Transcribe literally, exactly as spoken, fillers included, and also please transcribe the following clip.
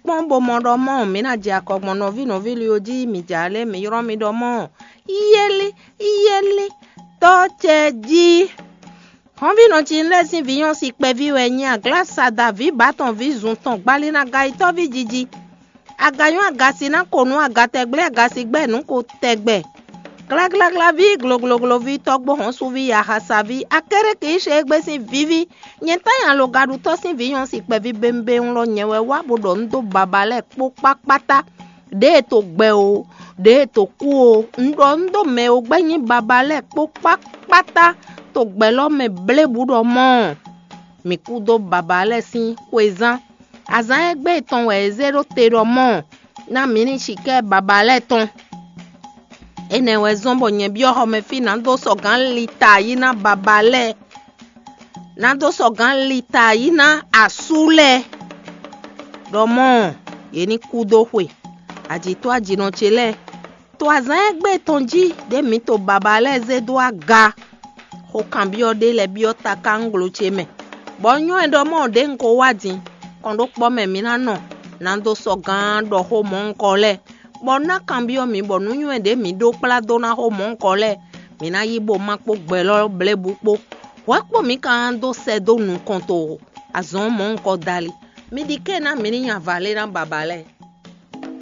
kpɔ́n bó mɔ ɖɔ mɔ̌ mǐ ná jɛ akɔ gbɔn nɔví nɔví lí ɔ́ jí, mǐ jǎ lɛ́ɛ mǐ ylɔ́ mi ɖɔ mɔ̌ yéli yéli tɔ́ ce jí. Hɔnvínɔ ce lɛ́ɛ sín vǐ nyɔ́ si kpɛví wɛ nyí aglásada vǐ bǎtɔn vǐ zun tɔn gbalínaga yi tɔ́ví jiji. Aga nyɔ́ aga si ná ko nǔ aga tɛgbɛ́ aga si gbɛ́ nǔ ko tɛgbɛ. Gláglágláví, gloglogloví, tɔ́gbó hɔ́nsuví, yahasaví, akéré kǐ ṣe égbé sín víví. Nyɛ tán nyi alogaɖutɔ́ sín vǐ nyɔ́ si kpɛví bémbéŋ lɔ nyɛ wɛ wá bó ɖɔ nǔ dó baba lɛ́ɛ kpó kpákpátá. Ɖěe to gbɛ o, ɖěe to kú o, un ɖɔ nǔ dó mɛ e gbɛ́ nyí baba lɛ́ɛ kpó kpákpátá to gbɛ lɔ mɛ blébǔ ɖɔ mɔ̌. Mǐ kú dó baba lɛ́ɛ sín xwezán. Azǎn e gbé tɔn wɛ è zé ɖó te ɖɔ mɔ̌ ná mǐ ní cikɛ́ baba lɛ́ɛ tɔn. Énɛ́ wɛ zɔ́n bɔ nyɛ byɔ́ xɔmɛ fí ná dó sɔgǎn lita yi ná baba lɛ́ɛ, ná dó sɔgǎn lita yi ná asú lɛ́ɛ ɖɔ mɔ̌ yě ní kú dó xwe. Ajǐtɔ́ ajǐnɔ ce lɛ́ɛ, to azǎn e gbé tɔn jí ɖě mǐ to baba lɛ́ɛ zé dó aga. Xó kanbyɔ́ ɖé lɛ́ɛ byɔ́ takánglo ce mɛ, bɔ nyɔ́ ɛ ɖɔ mɔ̌ ɖě un ko wá din. Kɔn ɖó kpɔ́ mɛ mǐ ná nɔ ná dó sɔgǎn ɖɔ xó mɔ̌hunkɔ lɛ́ɛ, bɔ ná kanbyɔ́ mǐ bɔ nǔnywɛ́ ɖě mǐ ɖó kplá dó ná xó mɔ̌hunkɔ lɛ́ɛ, mǐ ná yí bó má kpó gbɛ lɔ́ blěbǔ kpó. Hwɛ̌ kpó mǐ ka ná dó sɛ dó nukɔn to azɔ̌ mɔ̌hunkɔ dali. Mi ɖi kɛ́ ná mǐ ní nyi avǎ lé ná baba lɛ́ɛ.